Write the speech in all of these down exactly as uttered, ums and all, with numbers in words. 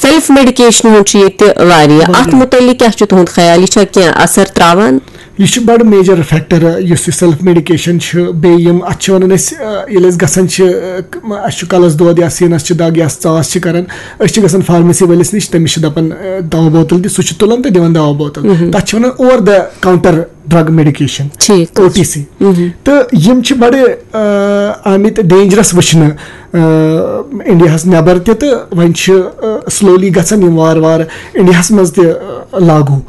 Self medication ہُنٛد چھُ ییٚتہِ واریاہ، اَتھ مُتعلِق کیٛاہ چھُ تُہُنٛد خیال؟ یہِ چھا کینٛہہ اثر تراوان؟ یہِ چھُ بڑٕ میجر فیکٹر، یُس یہِ سیلف میڈیکیشن چھُ، بیٚیہِ یِم اَتھ چھِ وَنان أسۍ، آ، ییٚلہِ أسۍ گژھان چھِ، آ، ک-، اَسہِ چھُ کَلَس دود یا سیٖنَس چھِ دَگ یا ژاس چھِ کَران، أسۍ چھِ گژھان فارمیسی وٲلِس نِش، تٔمِس چھِ دَپان، آ، دَوا بوتل دِ، سُہ چھُ تُلان تہٕ دِوان دَوا بوتل۔ تَتھ چھِ وَنان over the counter drug medication, ٹھیٖک حظ چھُ۔ O T C. تہٕ یِم چھِ بڑٕ، آ، آمٕتۍ ڈینجرس وٕچھنہٕ، آ، انڈیاہس نٮ۪بر تہِ، تہٕ وۄنۍ چھِ، آ، سلولی گژھان یِم وارٕ وارٕ انڈیاہس منٛز تہِ، آ، لاگو،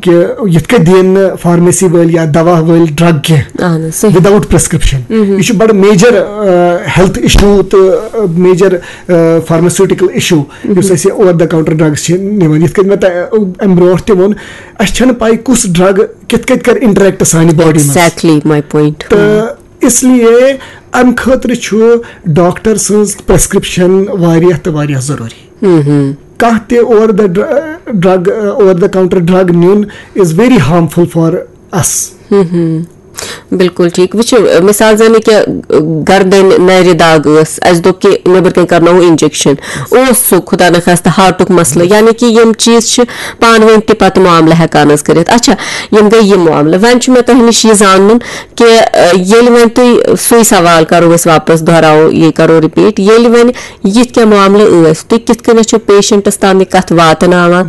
کہِ یِتھ کٔنۍ دِن نہٕ فارمیسی وٲلۍ یا دوا وٲلۍ ڈرگ کینٛہہ اہن حظ، صحیح۔ Without prescription. یہِ چھُ بڑٕ میجر ہیلتھ ایشو تہٕ میجر فارماسیوٹیکل ایشو، یُس اَسہِ اوور دَ کاونٹر ڈرگس چھِ نِوان۔ یِتھ کٔنۍ مےٚ تۄہہِ، آ، امہِ برونٛٹھ تہِ ووٚن، اَسہِ چھَنہٕ پَے کُس ڈرگ کِتھ کٔنۍ کَرِ انٹریکٹ سانہِ باڈی منٛز۔ Exactly my point۔ تہٕ اس لیے امہِ خٲطرٕ چھُ ڈاکٹر سٕنٛز پرسکرپشن واریاہ تہٕ واریاہ ضروٗری۔ کانٛہہ تہِ over the drug, over the counter drug نیُن is very harmful for us۔ بِلکُل ٹھیٖک۔ وٕچھِو، مِثال زَن یہِ کہِ گردَنہِ نَرِ دَگ ٲس، اَسہِ دوٚپ کہِ نیٚبرٕ کَنۍ کَرناوو انجیکشن، اوس سُہ خۄدا نخواستہٕ ہارٹُک مسلہٕ، یعنی کہِ یِم چیٖز چھِ پانہٕ ؤنۍ تہِ پَتہٕ معاملہٕ ہٮ۪کان حظ کٔرِتھ۔ اچھا، یِم گٔے یِم معاملہٕ۔ وۄنۍ چھُ مےٚ تۄہہِ نِش یہِ زانُن کہِ، اَ، ییٚلہِ وۄنۍ تُہۍ سُے سوال کَرو أسۍ واپس، دۄہراوو، یہِ کَرو رِپیٖٹ، ییٚلہِ وۄنۍ یِتھ کینٛہہ معاملہٕ ٲسۍ، تُہۍ کِتھ کٔنٮ۪تھ چھِو پیشنٹس تام یہِ کَتھ واتناوان؟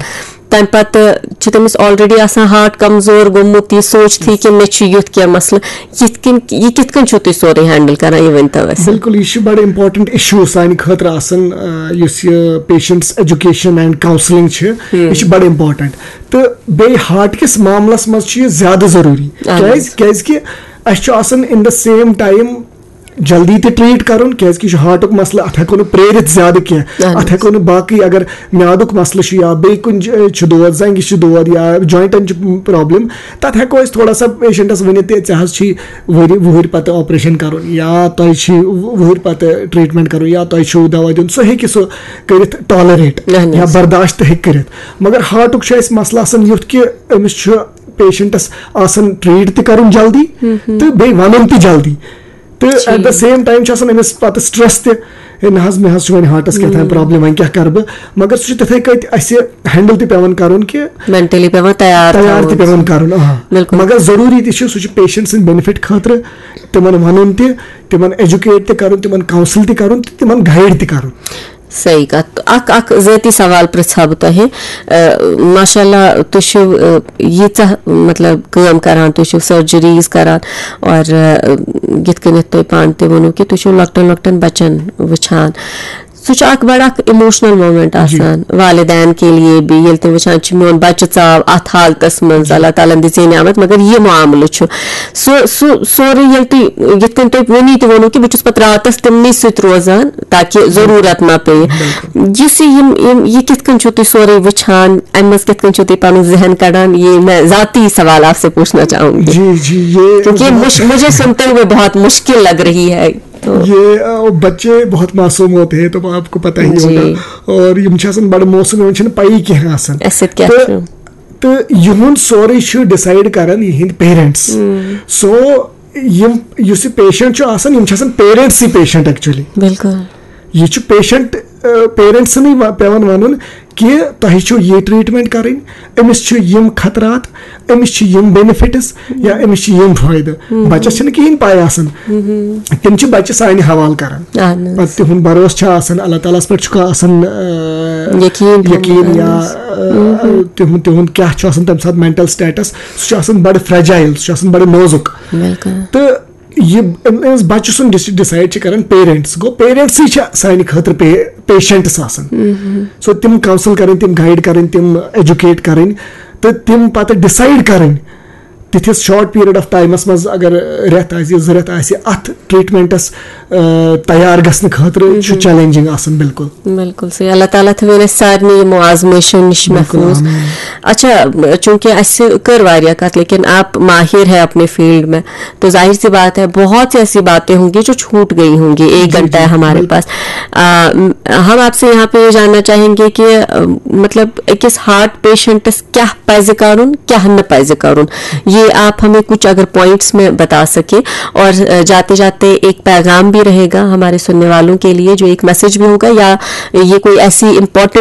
تَمہِ پَتہٕ چھِ تٔمِس already آسان ہارٹ کمزور گوٚمُت، یہِ سوٗنٛچتھٕے کہِ مےٚ چھُ یُتھ کینٛہہ مسلہٕ۔ یِتھ کٔنۍ، یہِ کِتھ کٔنۍ چھِو تُہۍ سورُے ہینڈل کران، یہِ ؤنۍ تو اَسہِ؟ بِلکُل، یہِ چھُ بڑٕ امپورٹنٹ ایشو سانہِ خٲطرٕ آسان، آ، یُس یہِ پیشنٹس ایجوکیشن اینڈ کاونسلنگ چھِ، یہِ چھِ بڑٕ امپورٹنٹ۔ تہٕ بیٚیہِ ہارٹ کِس معاملس منٛز چھُ یہِ زیادٕ ضروٗری۔ اہن حظ۔ کیازِ؟ کیازِ کہِ اَسہِ چھُ آسان in the same time جلدی تہِ ٹریٖٹ کرُن، کیازِ کہِ یہِ چھُ ہارٹُک مسلہٕ، اتھ ہٮ۪کو نہٕ پرٛٲرِتھ زیادٕ کینٛہہ۔ اہن حظ۔ اتھ ہٮ۪کو نہٕ باقٕے، اگر میادُک مسلہٕ چھُ یا بیٚیہِ کُنہِ جایہِ چھُ دود، زنٛگہِ چھُ دود یا جوینٹن چھُ پرابلم، تتھ ہٮ۪کو أسۍ تھوڑا سا پیشنٹس ؤنِتھ تہِ، ژےٚ حظ چھُے ؤری وُہٕرۍ پتہٕ آپریشن کرُن یا تۄہہِ چھُے وُہٕرۍ پتہٕ ٹریٹمنٹ کرُن یا تۄہہِ چھُو دوا دیُن، سُہ ہیٚکہِ سُہ کٔرِتھ ٹالریٹ اہن حظ۔ یا برداشت تہِ ہیٚکہِ کٔرِتھ۔ مگر ہارٹُک چھُ اَسہِ مسلہٕ آسان یُتھ کہِ أمِس چھُ پیشنٹس آسان ٹریٖٹ تہِ کرُن جلدی تہٕ بیٚیہِ ونُن تہِ جلدی۔ تہٕ at the same time چھُ آسان أمِس پتہٕ سٹریس تہِ، ہے نہ حظ، مےٚ حظ چھُ وۄنۍ ہارٹس کیٛاہ تام پرابلم، وۄنۍ کیٛاہ کرٕ بہٕ؟ مگر سُہ چھُ تِتھے کٔنۍ اَسہِ ہینڈل تہِ پٮ۪وان کرُن کہِ مینٹلی پٮ۪وان تیار تیار تہِ تھاوُن۔ پٮ۪وان کرُن، آ۔ بِلکُل۔ مگر ضروٗری تہِ چھُ، سُہ چھُ پیشنٹ سٕنٛدِ بینِفٹ خٲطرٕ تِمن ونُن تہِ، تِمن ایجوکیٹ تہِ کرُن، تِمن کاونسل تہِ کرُن تہٕ تِمن گایڈ تہِ کرُن۔ صحیح کتھ۔ اکھ، اکھ ذٲتی سوال پرژھٕ ہا بہٕ تۄہہِ۔ اہ، ماشاء اللہ، تُہۍ چھِو، اہ، ییٖژاہ، مطلب، کٲم کران، تُہۍ چھِو سرجریز کران اور، اہ، یِتھ کٔنٮ۪تھ تۄہہِ پانہٕ تہِ ووٚنوُ کہِ تُہۍ چھِو لۄکٹٮ۪ن لۄکٹٮ۪ن بچن وٕچھان۔ سُہ چھُ اکھ بڑٕ اکھ ایموشنل مومنٹ آسان والدین کے لیے بھی، ییٚلہِ تِم وٕچھان چھِ میون بچہٕ ژاو اتھ حالتس منٛز، اللہ تعالیٰ ہن دِژے نعمت، مگر یہِ معاملہٕ چھُ سُہ، سُہ سورُے ییٚلہِ تُہۍ یِتھ کٔنۍ تُہۍ وُنی تہِ ووٚنوُ کہِ بہٕ چھُس پتہٕ راتس تِمنٕے سۭتۍ روزان تاکہِ ضروٗرت ما پیٚیہِ۔ یُس یہِ یِم، یِم، یہِ کِتھ کٔنۍ چھِو تُہۍ سورُے وٕچھان؟ اَمہِ منٛز کِتھ کٔنۍ چھِو تُہۍ پَنُن ذہن کَڑان؟ یہِ مےٚ ذاتی سوال آپ سے پوچھنا چاہوں گی۔ جی، جی، یہ کیونکہ مجھ-، مجھے سنتے ہوئے بہت مشکل لگ رہی ہے۔ تو یہ، آ، بچے بہت معصوم ہوتے ہیں، تو آپ کو پتہ ہی جی۔ ہوگا۔ اور یِم چھِ آسان بڑٕ معصوم، یِمن چھِنہٕ پَیی کینٛہہ آسان۔ اَسہِ سۭتۍ کیٛاہ تہٕ، چھُ؟ تہٕ یِہُنٛد سورُے چھُ ڈِسایڈ کران یِہِنٛدۍ پیرنٹس۔ سو یِم، یُس یہِ پیشنٹ چھُ آسان، یِم چھِ آسان پیرنٹسٕے پیشنٹ ایکچُؤلی۔ بِلکُل۔ یہِ چھُ پیشنٹ، آ، پیرنٹسنٕے وا-، پٮ۪وان وَنُن کہِ تۄہہِ چھُو یہِ ٹریٹمنٹ کَرٕنۍ، أمِس چھِ یِم خطرات، أمِس چھِ یِم بینیفٹس یا أمِس چھِ یِم فٲیدٕ۔ بَچَس چھِنہٕ کِہیٖنۍ پَے آسان۔ تِم چھِ بَچہٕ سانہِ حوالہٕ کَران۔ اہن حظ۔ پَتہٕ تِہُنٛد بَروسہٕ چھُ آسان، اللہ تعالیٰ ہَس پٮ۪ٹھ چھُکھا آسان، آ، یقیٖن تھاوُن، یقیٖن یا، اہن حظ۔ آ، تِہُنٛد، تِہُنٛد کیٛاہ چھُ آسان تَمہِ ساتہٕ مینٹل سٹیٹس، سُہ چھُ آسان بَڑٕ فرٛیجایِل، سُہ چھُ آسان بَڑٕ نوزُک۔ بِلکُل۔ تہٕ یہِ أمۍ، أمِس بَچہٕ سُنٛد ڈِس-، ڈِسایڈ چھِ کَران پیرنٹس۔ گوٚو، پیرنٹسٕے چھِ سانہِ خٲطرٕ پے-، پیشنٹس آسان۔ سو تِم کاونسل کَرٕنۍ، تِم گایڈ کَرٕنۍ، تِم ایجوکیٹ کَرٕنۍ تہٕ تِم پَتہٕ ڈِسایڈ کَرٕنۍ۔ تِتھِس شارٹ پیریڈ آف ٹایمَس منٛز اگر رٮ۪تھ آسہِ، زٕ رٮ۪تھ آسہِ، اَتھ ٹریٹمنٹس، آ، تیار گژھنہٕ خٲطرٕ چھُ چیلنجنگ آسان بِلکُل۔ بِلکُل صحیح۔ اللہ تعالیٰ تھٲوِن اَسہِ سارنٕے یِمو آزمٲیشو نِش بِلکُل، محفوٗظ۔ آمیٖن۔ اچھا، چونکہ اَسہِ کٔر واریاہ کَتھ، لیکن آپ ماہر ہے اپنے فیلڈ میں، تو ظاہر سی بات ہے، بہت سی ایسی باتیں ہوں گی جو چھوٹ گئی ہوں گی، ایک جی، گھنٹہ جی، ہے ہمارے بِلکُل۔ پاس۔ آ، ہم آپ سے یہاں پہ یہ جاننا چاہیں گے کہ، آ، مطلب، أکِس ہارٹ پیشنٹس کیٛاہ پَزِ کَرُن، کیٛاہ نہٕ پَزِ کَرُن، یہ آپ ہمیں کچھ اگر پوائنٹس میں بتا سکیں۔ اور، آ، جاتے جاتے ایک پیغام بھی رہے گا ہمارے سننے والوں کے لیے، جو ایک میسج بھی ہوگا، یا یہ کوئی ایسی امپورٹنٹ